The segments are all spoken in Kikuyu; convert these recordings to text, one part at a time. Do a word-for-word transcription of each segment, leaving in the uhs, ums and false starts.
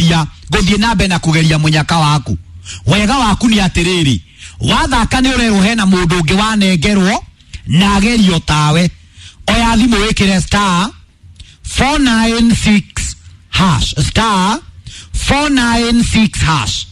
kũgeria gũthiĩ na mbere na kũgeria mũnyaka waku. Wega waku nĩ atĩrĩrĩ, wathaka nĩ ũrerwo hena mũndũ ũngĩ wanengerwo na agerio tawe. Oya thimũ wĩkĩre star four nine six hash, star four nine six hash.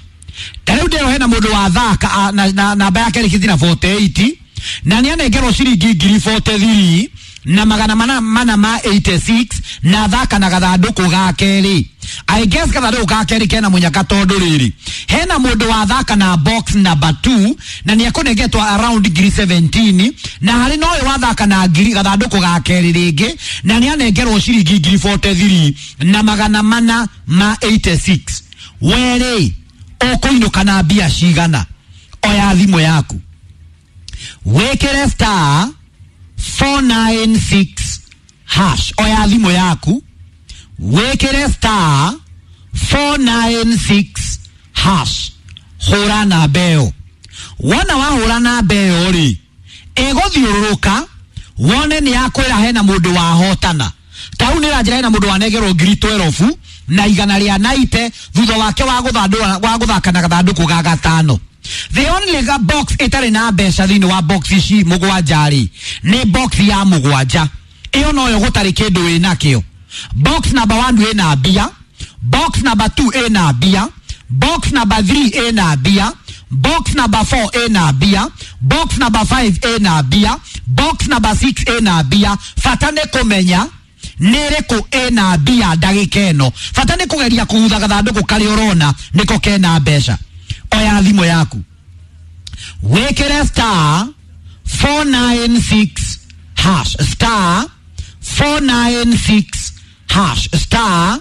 Ta rĩu ndĩrwo hena mũndũ wathaka na na namba yake ĩrĩkĩtie na forty eight na nĩ anengerwo ciringi ngiri forty three na magana mana mana ma eighty six na thaka na gathandũkũ ga kerĩ. I guess gathandũkũ ga kerĩ kena mũnyaka tondũ rĩrĩ hena mũndũ wathaka na box number two na nĩ ekũnengetwo around ngiri seventeen na harĩ na ũyũ wathaka na ngiri gathandũkũ ga kerĩ rĩngĩ na nĩ anengerwo ciringi ngiri forty three na magana mana ma eighty six. Werĩ ũkũinũka na mbia cigana? Oya thimũ yaku wĩkĩre star four nine six hash. Oya thimũ yaku wĩkĩre star four nine six hash, hũra namba ĩyo. Wona wahũra namba ĩyo rĩ, ĩgũthiũrũrũka wone nĩ yakwĩra hena mũndũ wahotana. Ta rĩu nĩ ĩranjĩra hena mũndũ wanengerwo ngiri twelve na igana rĩa naite thutha wake wa gũthandũra wa gũthaka na gathandũkũ ga gatano. The only box ĩtarĩ na mbeca thĩinĩ wa box ici mũgwanja rĩ nĩ box ya mũgwanja. Ĩyo noyo gũtarĩ kĩndũ wĩnakĩo. Box number one ĩna mbia, box number two ĩna mbia, box number three ĩna mbia, box number four ĩna mbia, box number five ĩna mbia, box number six ĩna mbia. Bata nĩ kũmenya nĩ ĩrĩkũ ĩna mbia ndagĩka ĩno. Bata nĩ kũgeria kũhutha gathandũkũ karĩa ũrona nĩko kena mbeca. Oya thimũ yaku wĩkĩre star four nine six hash, star four nine six hash, star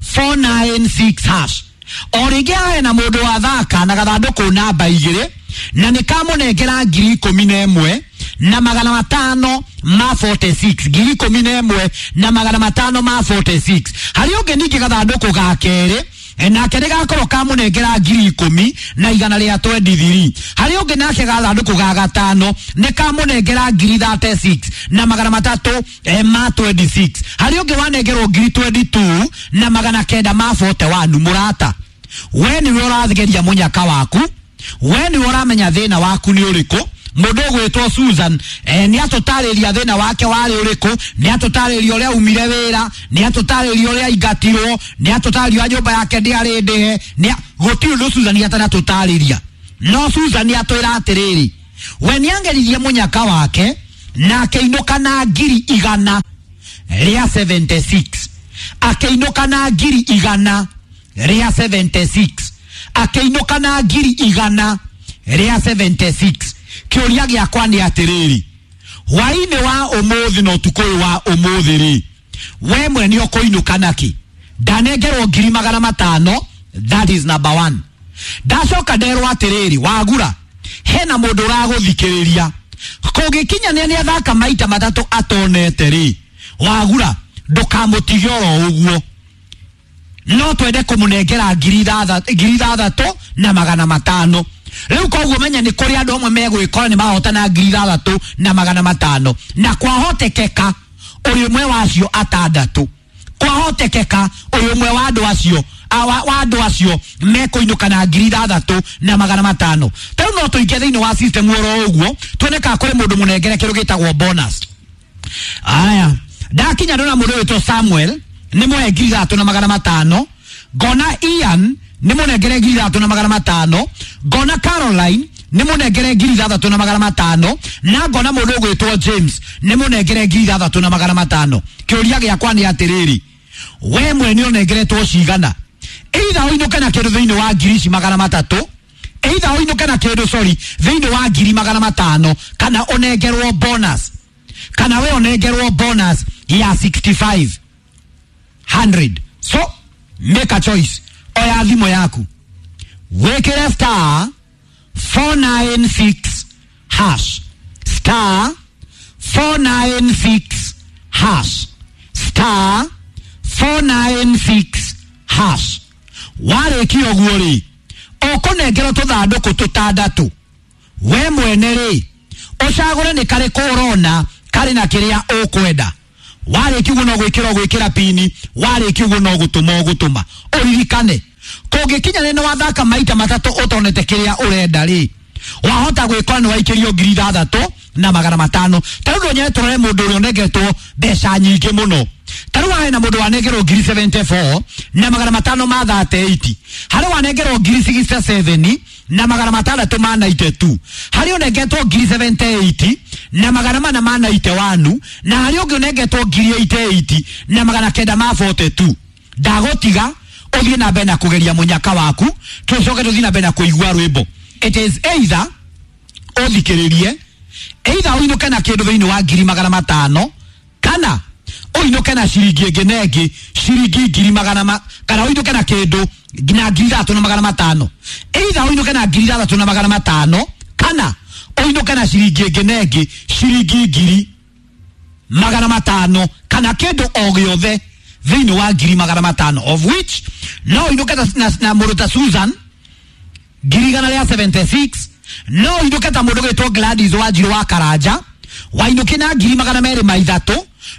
four nine six hash. O rĩngĩ hena mũndũ wathaka na gathandũkũ namba igĩrĩ na nĩ kamũnengera ngiri ikũmi na ĩmwe na magana matano ma forty six, ngiri ikũmi na ĩmwe na magana matano ma forty six. Harĩ ũngĩ ningĩ gathandũkũ ga kerĩ nake nĩ gakorwo kamũnengera ngiri ikũmi na igana rĩa twenty three. Harĩ ũngĩ nake gathandũkũ ga gatano nĩ kamũnengera ngiri thirty six na magana matatũ ma twenty six. Harĩ ũngĩ wanengerwo ngiri twenty two na magana kenda ma forty one. Mũrata, we nĩwe ũrageria mũnyaka waku, we nĩwe ũramenya thĩna waku nĩ ũrĩkũ. Mũndũ ũgwĩtwo Susan eh, nĩ atũtarĩria thĩna wake warĩ ũrĩkũ, nĩ atũtarĩria ũrĩa aumire wĩra, nĩ atũtarĩria ũrĩa aingatirwo, nĩ atũtarĩria nyũmba yake ndĩarĩ ndĩhe, nĩ gũtirĩ ũndũ Susan atanatũtarĩria. No Susan atwĩra atĩrĩrĩ, we nĩ angeririe mũnyaka wake na akĩinũka na ngiri igana rĩa seventy six, akĩinũka na ngiri igana rĩa seventy six, akĩinũka na ngiri igana rĩa seventy six. Kĩũria gĩakwa nĩ atĩrĩrĩ, hwaĩ-inĩ wa ũmũthĩ na ũtukũ ũyũ wa ũmũthĩ rĩ, we mwene ũkũinũka nakĩ? Ndanengerwo ngiri magana matano, that is number one. Ndacoka nderwo atĩrĩrĩ, wagura hena mũndũ ũragũthikĩrĩria kũngĩkinya nĩ athaka maita matatũ atonete rĩ, wagura ndũkamũtige oro ũguo, no twende kũmũnengera ngiri ithathatũ na magana matano. Rĩu koguo menya nĩ kũrĩ andũ amwe megwĩkora nĩ mahotana ngiri ithathatũ na magana matano, na kwahotekeka ũrĩ ũmwe wacio atandatũ, kwahotekeka ũrĩ ũmwe wa andũ acio wa andũ acio mekũinũka na ngiri ithathatũ na magana matano. Ta rĩu no tũingĩ thĩinĩ wa system oro ũguo tuone kana kũrĩ mũndũ mũnengere kĩndũ gĩtagwo bonus. Aya, ndakinya ndona mũndũ wĩtwo Samuel nĩ mũhe ngiri ithathatũ na magana matano, ngona Ian nĩ mũnengere ngiri ithathatũ na magana matano, ngona Caroline nĩ mũnengere ngiri ithathatũ na magana matano, na ngona mũndũ ũgwĩtwo James nĩ mũnengere ngiri ithathatũ na magana matano. Kĩũria gĩakwa nĩ atĩrĩrĩ, we mwene ũnengeretwo cigana? Either ũinũke na kĩndũ thĩinĩ wa ngiri ici magana matatũ, either ũinũke na kĩndũ sorry thĩinĩ wa ngiri magana matano, kana ũnengerwo bonus, kana we ũnengerwo bonus ya sixty five hundred. So make a choice. Oya thimũ yaku wĩkĩre star four nine six hash, star four nine six hash, star four nine six hash. Warĩkia ũguo rĩ, ũkũnengerwo tũthandũkũ tũtandatũ. We mwene rĩ, ũcagũre nĩ karĩkũ ũrona karĩ na kĩrĩa ũkwenda. Warĩkia ũguo no gwĩkĩra ũgwĩkĩra pini, warĩkia ũguo no gũtũma ũgũtũma. Ũririkane Kũngĩkinya nĩ wathaka maita matatũ ũtonete kĩrĩa ũrenda rĩ, wahota gwĩkora nĩ waikĩrio ngiri ithathatũ na magana matano. Ta rĩu ndonye tũrore mũndũ ũrĩa ũnengetwo mbeca nyingĩ mũno. Ta rĩu hena mũndũ wanengerwo ngiri seventy-four na magana matano ma thirty-eight. Harĩ wanengerwo ngiri sixty-seven na magana matandatũ ma ninety-two. Harĩ ũnengetwo ngiri seventy-eight na magana mana ma ninety-one, na harĩ ũngĩ ũnengetwo ngiri eighty-eight na magana kenda ma forty-two. Ndagũtiga ũthiĩ na mbere na kũgeria mũnyaka waku, tũcoke tũthiĩ na mbere na kũigua rwĩmbo. It is either ũthikĩrĩrie, either ũinũke na kĩndũ thĩinĩ wa ngiri magana matano, kana ũinũke na ciringi ĩngĩ na ĩngĩ ciringi ngiri magana ma, kana ũinũke na kĩndũ na ngiri ithatũ na magana matano. Either ũinũke na ngiri ithathatũ na magana matano, kana ũinũke na ciringi ĩngĩ na ĩngĩ ciringi ngiri magana matano, kana kĩndũ o gĩothe thĩinĩ wa ngiri magana matano, of which no ũinũke na, na, na mũndũ ta Susan ngiri igana rĩa seventy-six, no ũinũke ta mũndũ gwĩtwo Gladys Wanjiru wa Karanja wainũke na ngiri magana merĩ ma ithatũ,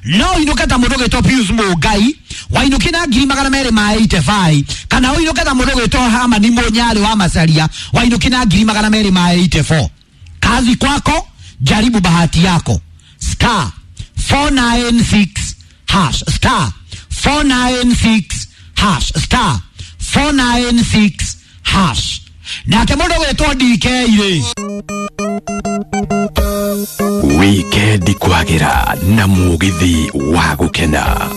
no ũinũke ta mũndũ gwĩtwo Pius Mũngai wainũke na ngiri magana merĩ ma eighty-five, kana ũinũke ta mũndũ gwĩtwo Hamani Mũnyarĩ wa Macaria wainũke na ngiri magana merĩ ma eighty-four. Kazi kwako, jaribu bahati yako. Star four nine six hash, star four nine six hash, star four nine six hash. Nake mũndũ gwĩtwo D K rĩ. Wikendi kwagĩra na mũgithi wa gũkena.